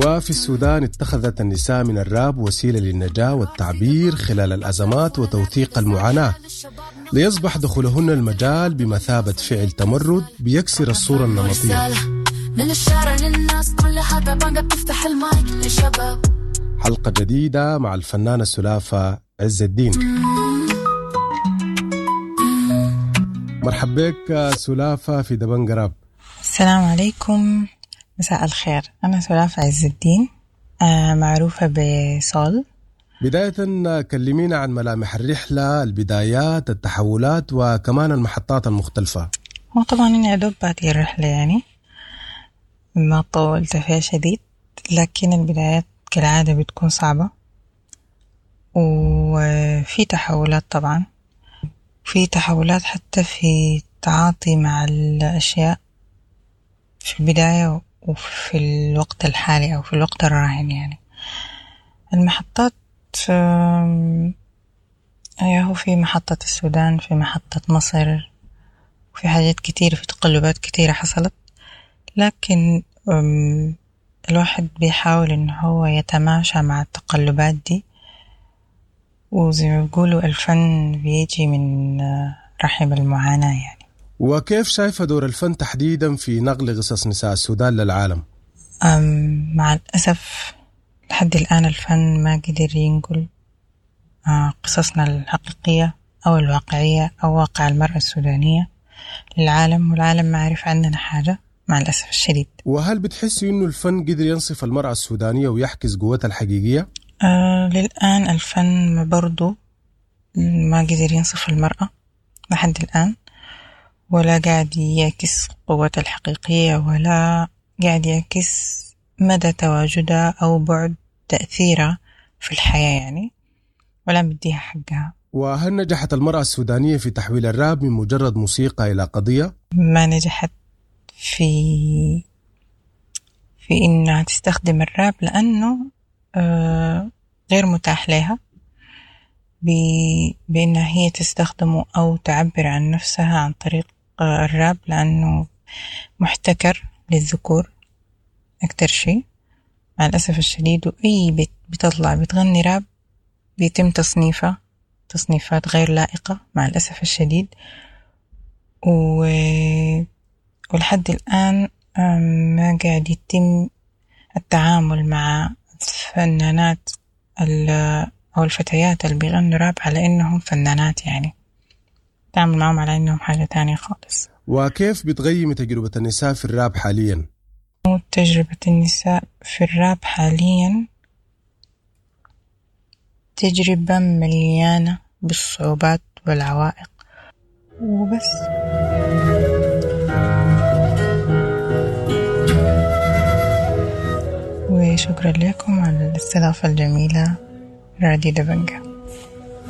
وفي السودان اتخذت النساء من الراب وسيلة للنجاة والتعبير خلال الأزمات وتوثيق المعاناة، ليصبح دخولهن المجال بمثابة فعل تمرد بيكسر الصورة النمطية. من الشارع للناس كلها دبنجة بتفتح المايك للشباب. حلقة جديدة مع الفنانة سلافة عز الدين. مرحبا بك سلافة في دبنجة راب. السلام عليكم، مساء الخير. أنا سلافة عز الدين، معروفة بسول. بداية كلمينا عن ملامح الرحلة، البدايات، التحولات، وكمان المحطات المختلفة. هو طبعا أنا أدوب بادية الرحلة، يعني ما طولت فيها شديد، لكن البدايات كالعادة بتكون صعبة وفي تحولات، طبعا في تحولات حتى في التعاطي مع الأشياء في البداية وفي الوقت الحالي أو في الوقت الراهن. يعني المحطات هو في محطة السودان، في محطة مصر، وفي حاجات كتير، في تقلبات كتيرة حصلت، لكن الواحد بيحاول إنه هو يتماشى مع التقلبات دي، وزي ما بيقولوا الفن بيجي من رحم المعاناة يعني. وكيف شايفة دور الفن تحديدا في نقل قصص نساء السودان للعالم؟ مع الأسف لحد الآن الفن ما قدر ينقل قصصنا الحقيقية أو الواقعية أو واقع المرأة السودانية للعالم، والعالم ما عرف عننا حاجة مع الأسف الشديد. وهل بتحسي إنه الفن قدر ينصف المرأة السودانية ويحكي قوتها الحقيقية؟ للآن الفن برضو ما قدر ينصف المرأة لحد الآن، ولا قاعد يعكس قوتها الحقيقية، ولا قاعد يعكس مدى تواجدها أو بعد تأثيرها في الحياة يعني، ولا مديها حقها. وهل نجحت المرأة السودانية في تحويل الراب من مجرد موسيقى إلى قضية؟ ما نجحت في إنها تستخدم الراب، لأنه غير متاح لها بأنها هي تستخدمه أو تعبر عن نفسها عن طريق الراب، لأنه محتكر للذكور أكتر شيء مع الأسف الشديد. وأي بنت بتطلع بتغني راب بيتم تصنيفها تصنيفات غير لائقة مع الأسف الشديد. ولحد الآن ما قاعد يتم التعامل مع الفنانات أو الفتيات اللي بيغنوا راب على إنهم فنانات، يعني تعامل معهم على إنهم حاجة تانية خالص. وكيف بتقيمي تجربة النساء في الراب حاليا؟ تجربة النساء في الراب حاليا تجربة مليانة بالصعوبات والعوائق وبس. وشكرا لكم على الاستضافة الجميلة، راديو دبنجة.